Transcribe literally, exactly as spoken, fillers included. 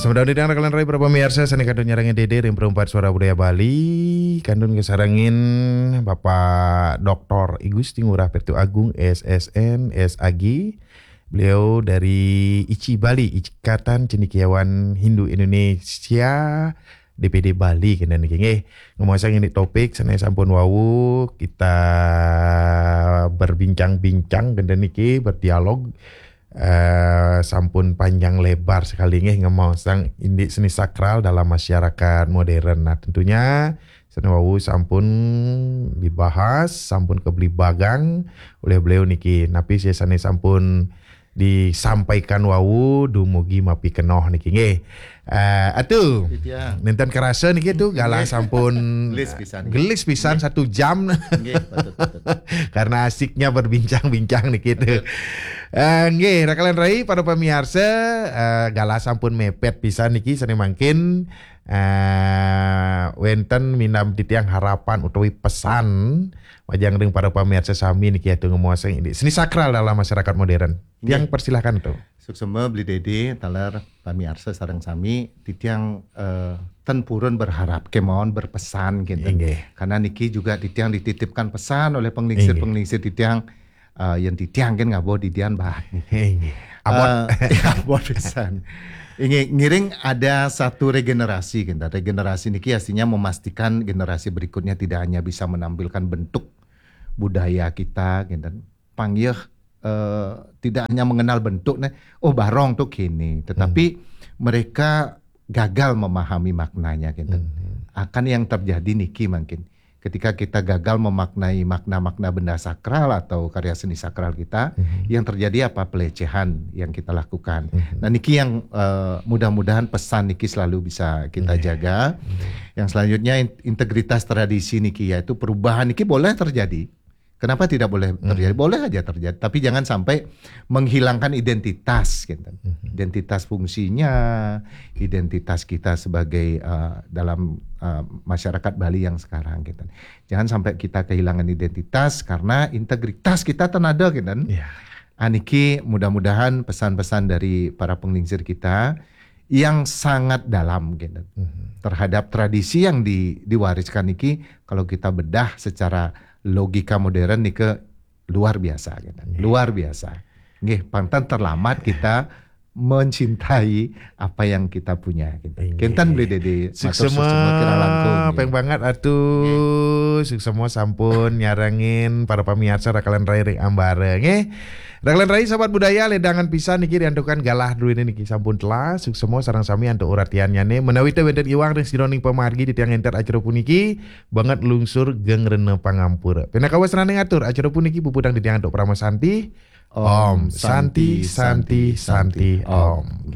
Sementara di tengah kalian rai para pemirsa, sane kantun nyarangin Dede ring Perempat Suara Budaya Bali, kantun kasarengin Bapak Doktor I Gusti Ngurah Pertu Agung, S S N, S A G. Beliau dari ICI Bali, Ikatan Cendekiawan Hindu Indonesia, D P D Bali, kenten niki nggih. Ngemaosang indik topik sane sampun wau kita berbincang-bincang, kenten niki, berdialog, eh, sampun panjang lebar sekali nggih, ngemaosang indik seni sakral dalam masyarakat modern. Nah, tentunya sane wau sampun dibahas, sampun kebeli bagang oleh beliau niki. Napi sih sane sampun disampaikan wau dumugi mapikenoh niki nggih. Eh, atu. Titiang. Nenten kerasa niki tu galah sampun gelis pisan. Gelis pisan satu jam. Nggih, betul, betul. Karena asiknya berbincang-bincang niki tu. Eh, nggih, rakalan rai para pemirsa, eh, galah sampun mepet pisan niki sane mangkin, eh, wenten minab titiang harapan utawi pesan majeng ring para pemirsa sami niki atu ngemaosang indik seni sakral dalam masyarakat modern. Tiang persilahkan tu. Suksma Beli Dede, taler pamiarsa sareng sami, titiang, eh, ten purun berharap kemawon berpesan gitu. Inggih. Karena niki juga titiang dititipkan pesan oleh penglingsir-penglingsir titiang, eh, yang titiang kan ngaboh didian bahat. Inggih. Abot. Eh, abot pisan. Inggih, ngiring ada satu regenerasi gitu. Regenerasi niki artinya memastikan generasi berikutnya tidak hanya bisa menampilkan bentuk budaya kita gitu. Panggih, eh, tidak hanya mengenal bentuk nih, oh barong tuh kini, tetapi mereka gagal memahami maknanya gitu. Akan yang terjadi niki mungkin ketika kita gagal memaknai makna-makna benda sakral atau karya seni sakral kita, yang terjadi apa? Pelecehan yang kita lakukan. Nah, niki yang, eh, mudah-mudahan pesan niki selalu bisa kita jaga. Yang selanjutnya in- integritas tradisi niki, yaitu perubahan niki boleh terjadi. Kenapa tidak boleh terjadi? Boleh aja terjadi, tapi jangan sampai menghilangkan identitas gitu. Identitas fungsinya, identitas kita sebagai, eh, dalam, eh, masyarakat Bali yang sekarang gitu. Jangan sampai kita kehilangan identitas karena integritas kita ten ada gitu. Iya. Aniki mudah-mudahan pesan-pesan dari para penglingsir kita yang sangat dalam gitu. Terhadap tradisi yang di- diwariskan niki, kalau kita bedah secara logika modern niki luar biasa gitu. Luar biasa. Nggih, pang ten terlambat kita mencintai apa yang kita punya gitu. Inggih. Kenten Beli Dede, matur suksma, suksma kirang langkung, nggih. Peng banget atu. Suksma sampun nyarengin para pemirsa rakalan rai ring ambara nggih. Rakalan rai sahabat budaya, ledangan pisan niki riantukan galah druene niki sampun telah. Suksma sareng sami antuk uratiannyane. Menawi te wenten iwang ring sajeroning pamargi titiang ngenter acara puniki, banget lungsur geng rena pangampura. Pinakawas rane ngatur acara puniki puputang titiang antuk parama santi. Om Santi, Santi, Santi, Om.